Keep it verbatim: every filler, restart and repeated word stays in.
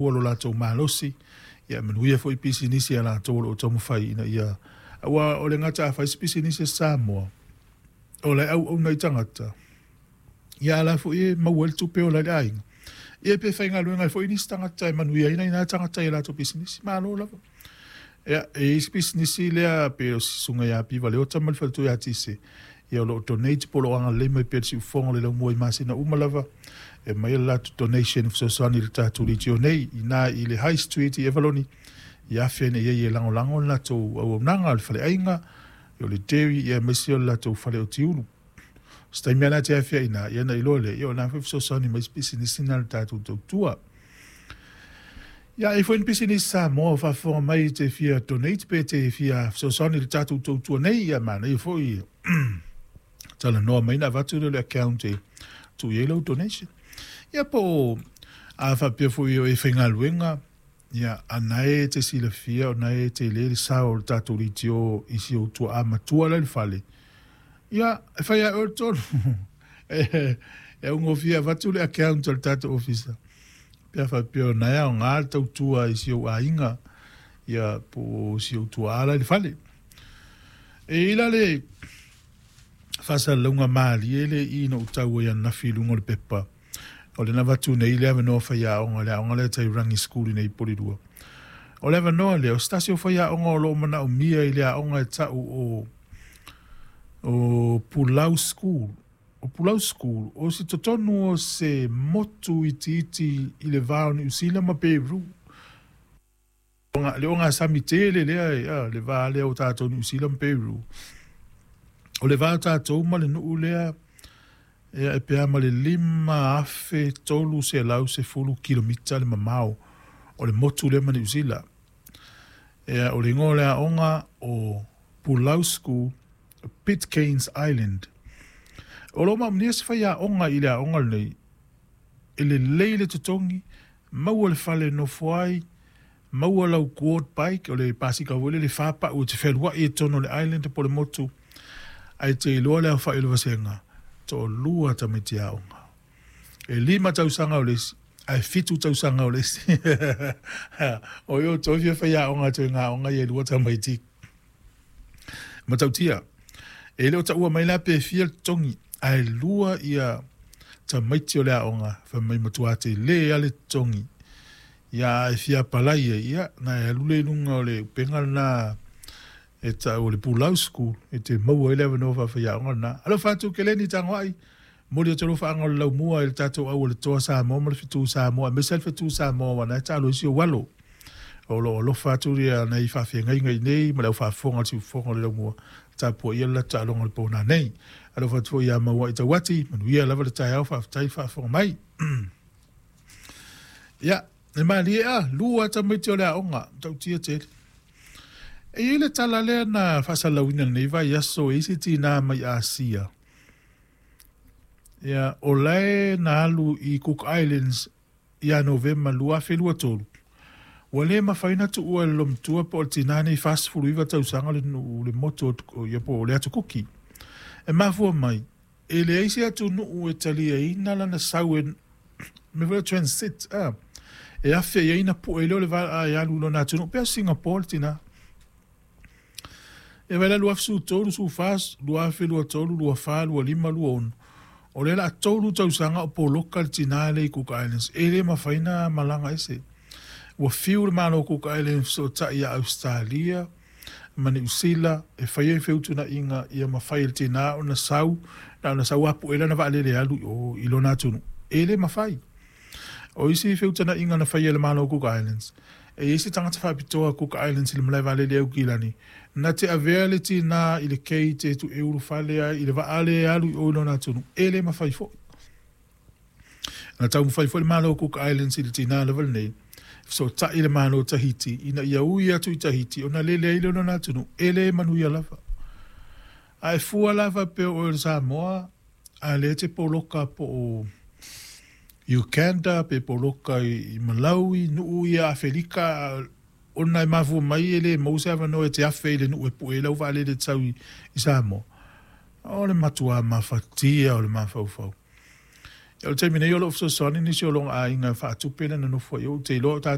Ua lo latou malosi, ia manuia foi pisinisi a latou o lo o taumafai ina ia aua o le gata a fai se pisinisi a Samoa o la e auauna ai tagata, ia a la foi e maua ai le tupe e ola ai le aiga. Ia pe faigaluega ai foi nisi tagata e manuia ai nai na tagata i a latou pisinisi. Malo lava. Ia, e i ai isi pisinisi lea pei o si susuga ia Piva Leota ma le faletua ia Tise, ia o lo o donate po o lo o agalelei mai pea i le siufofoga o le laumua i masina uma lava e aumai le latou donation e fesoasoani i le tatou leitio nei i ina i le High Street i Avaloni i afe ane i ai e lagolago le latou auaunaga o le faleaiga, o le dairy ia aemaise o le latou fale o tiulu. O se taimi lava la e te afe ai i ina, ia ona iloa lea, ia o lena foi e fesoasoani mai isi pisinisi na i le tatou tautua. Ia, e i ai foi ni pisinisi Samoa o faafofoga mai e te fia donate pe te fia fesoasoani i le tatou tautua nei, ia manaia foi talanoa mai ona avatu lea o le account e tuu i ai lau donation. Ia po o a faapea foi o e faigaluega, ia a na e te silafia o na e tele le sao o le tatou leitio i si ou tuaa matua la i le fale, ia e fai lava e oe le tonu. E augofie avatu le account a le tatou ofisa pe a faapea o na e aoga le tautua i si ou aiga, ia po o si ou tuaa la i le fale. E i ai la le faasalalauga malie lea i i na ou tau ai ananafi i luga o le pepa, o lea na avatu nei le avanoa faiaoga i le aoga lea a Tairangi School i nei i Polilua. O le avanoa lea, o se tasi o faiaoga o lo o manaomia i le aoga e tau o o Pulau School. O Pulau School, o se totonu o se motu itiiti i le va o Niu Sila ma Peru. Le ogasami tele lea, le va lea o tatou Niu Sila ma Peru. O le va o tatou ma le nuu lea, ia, e pe a ma le lima afe tolu selau sefulu kilomita le mamao o le motu lea ma Niu Sila. Ia, o le igoa o le aoga o Pulau School, Pitcairn's Island. O lo o maumia se faiaoga i le aoga lenei, e lelei le totogi, maua le fale e nofo ai, maua lau quad bike, o le pasika foi lele e fa pau e te fealuai ai i totonu o le island po o le motu, ae te iloa le aofai o le vasega, toalua tamaiti aoga. E lima tausaga o le isi, ae fitu tausaga o le isi. O ai outou e fia faiaoga atu i ngā aoga ia e lua tamaiti? Matautia, e le o taua mai la pe fia le totogi, ae lua ia tamaiti o le aoga, fai mai matua tele lava le totogi. Ia a e fia apalai ai, ia na e alu lea i luga o le upega lena e tau o le Pulau School, e te maua ai le avanoa faafaiaoga lena. Alofa atu Keleni Tagoai, momoli atu alofaaga o le laumua i le tatou aualetoa Samoa ma le fetu Samoa, aemaise le fetu Samoa aua na e taalo ai si ou alo. O lo o alofa atu ia nai faafeagaiga i nei ma le au faafofoga o le siufofoga o le laumua, tapuaia le latou taaloga o le po nanei. Alofa atu foi ia Mauai Tauati, manuia lava le taeao, faafetai le faafofoga mai. Ia, e malie a, lua tamaiti o le aoga, matautia tele. E i ai le tala lea na faasalalauina i lenei vaiaso e isi tinā mai Asia. Ia, o la e na alu i Cook Islands ia Novema lua afe lua tolu, ua le mafai ona tuua e le lomatua po o le tinā nei fa sefulu iva tausaga le nuu le motu o ia po o le Atu Kuki. E mafua mai, e leai se atunuu e taliaina lana sau e mea foi lea transit a, e afe i ai ona pue lea o le vaa e alu i lona atunuu pei o Singapore le tinā. E vaai la lua afe sefulu tolu, sefulu fa, lua afe lua tolu, lua fa, lua lima, lua ono. O lea o le a tolu tausaga o poloka le tinā lea i Cook Islands, e le mafai ona malaga ese. Ua fiu le Malo o Cook Islands e fesootai ia Ausetalia ma Niu Sila e fai ai feutunaʻiga ia mafai e le tinā ona sau, na ona sau lava pue lana vaalele e alu i o i lona atunuu. E le mafai. O isi feutanaʻiga na faia e le Malo o Cook Islands, e i ai se tagata faapitoa Cook Islands i le malae vaalele i Aukilani, na te avea le tinā i le gate e ulufale ai i le vaa lea e alu i o i lona atunuu. E le mafai foi. Na taumafai foi le Malo o Cook Islands i le tinā lava lenei, e fesootai i le Malo o Tahiti ina ia ui atu i Tahiti ona lele ai lea o lona atunuu, e le manuia lava. A e fua la faapea o oe o le Samoa, a lea e te poloka po o Uganda pe poloka i Malawi, nuu ia Afelika, ona e mafua mai e le maua se avanoa e te afe i le nuu e pue ai lau vaalele e te sau i Samoa. O le matuā mafatia o le mafaufau. O le taimi nei o loo fesoasoani nisi o loga aiga faatupe le nonofo ai ou te iloa.